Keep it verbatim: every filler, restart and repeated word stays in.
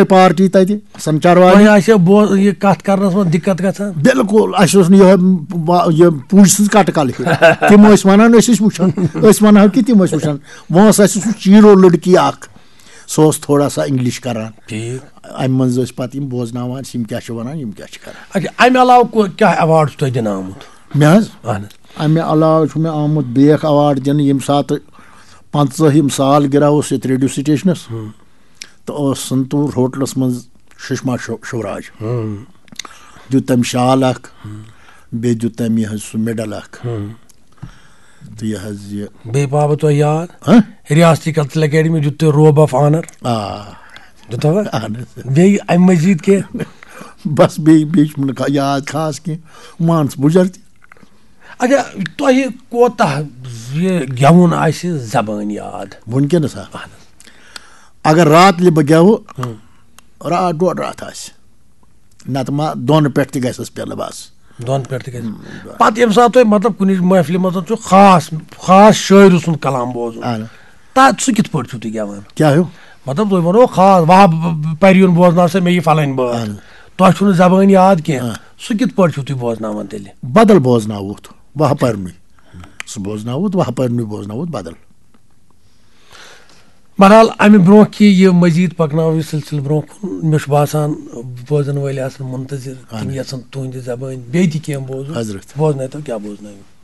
Party تتہِ سنچار والی۔ تۄہہِ آسہِ بوز یہِ کتھ کرنس منٛز دِقت گژھان؟ بالکل، اسہِ اوس نہٕ یِہوے وا- یہِ پوٗجہِ سٕنٛز کٹہٕ کلہٕ ہیوٗ۔ تِم ٲسۍ ونان، أسۍ ٲسۍ وٕچھان، أسۍ ونہو کہِ تِم ٲسۍ وٕچھان۔ وۄنۍ اوس اسہِ سُہ چیٖرو لڑکی اکھ، سُہ اوس تھوڑا سا انگلش کران۔ ٹھیٖک۔ امہِ منٛز ٲسۍ پتہٕ یِم بوزناوان، یِم کیٛاہ چھِ ونان، یِم کیٛاہ چھِ کران۔ اچھا، امہِ علاوٕ کو- کیٛاہ ایوارڈ چھُ تۄہہِ دِنہٕ آمُت؟ مےٚ حظ، اہن حظ۔ امہِ علاوٕ چھُ مےٚ آمُت بیٚیہِ اکھ ایوارڈ دِنہٕ، ییٚمہِ ساتہٕ پنٛژٲہِم سال گِراوُس ییٚتہِ ریڈیو سٹیشنس، تہٕ اوس سنتور ہوٹلس منٛز سشما شو- شوراج۔ دیُت تٔمۍ شال اکھ، بیٚیہِ دیُت تٔمۍ یہِ حظ سُہ میڈل اکھ۔ تہٕ یہِ حظ یہِ بیٚیہِ پاوٕ تۄہہِ یاد؟ ہاں؟ ریاستی کلچرل اکیڈمی دیُت تۄہہِ روب آف آنر؟ آ۔ دیُتوا؟ اہن حظ۔ بیٚیہِ امہِ مزید کینٛہہ؟ بس بیٚیہِ بیٚیہِ چھُم نہٕ کا- یاد خاص کینٛہہ، مان ژٕ بُجر تہِ۔ اچھا، تۄہہِ کوتاہ یہِ گٮ۪وُن آسہِ زبٲنۍ یاد؟ وٕنکیٚنس ہا، اگر راتلہِ بہٕ گٮ۪وٕ، راتھ ڈۄڈ راتھ آسہِ، نتہٕ ما دۄن پٮ۪ٹھ تہِ گژھس پیلہٕ بس۔ دۄن پٮ۪ٹھ تہِ گژھِ۔ پتہٕ ییٚمہِ ساتہٕ تۄہہِ مطلب کُنہِ محفلہِ منٛز چھُ خاص خاص شٲعرٕ سُنٛد کلام بوزُن، اہن۔ تتھ سُہ کِتھ پٲٹھۍ چھُو تُہۍ گٮ۪وان؟ کیٛاہ ہیوٗ؟ مطلب تُہۍ ونو خاص وہاب پریُن بوزناو سا مےٚ یہِ فلٲنۍ بٲتھ، اہن۔ تۄہہِ چھُو نہٕ زبٲنۍ یاد کینٛہہ، اہن۔ سُہ کِتھ پٲٹھۍ چھُو تُہۍ بوزناوان تیٚلہِ؟ بدل بوزناوُتھ وہہ پرنُے، سُہ بوزناوُتھ وہہ پرنُے بوزناوُتھ بدل۔ بہرحال، امہِ برونٛہہ کہِ یہِ مزید پکناوو یہِ سلسلہٕ برونٛہہ کُن، مےٚ چھُ باسان بوزن وٲلۍ آسن منتظر، تِم اہن۔ یژھن تُہنٛدِ زبٲنۍ بیٚیہِ تہِ کینٛہہ بوزُن۔ حضرت۔ بوزنٲیتو، کیٛاہ بوزنٲیِو؟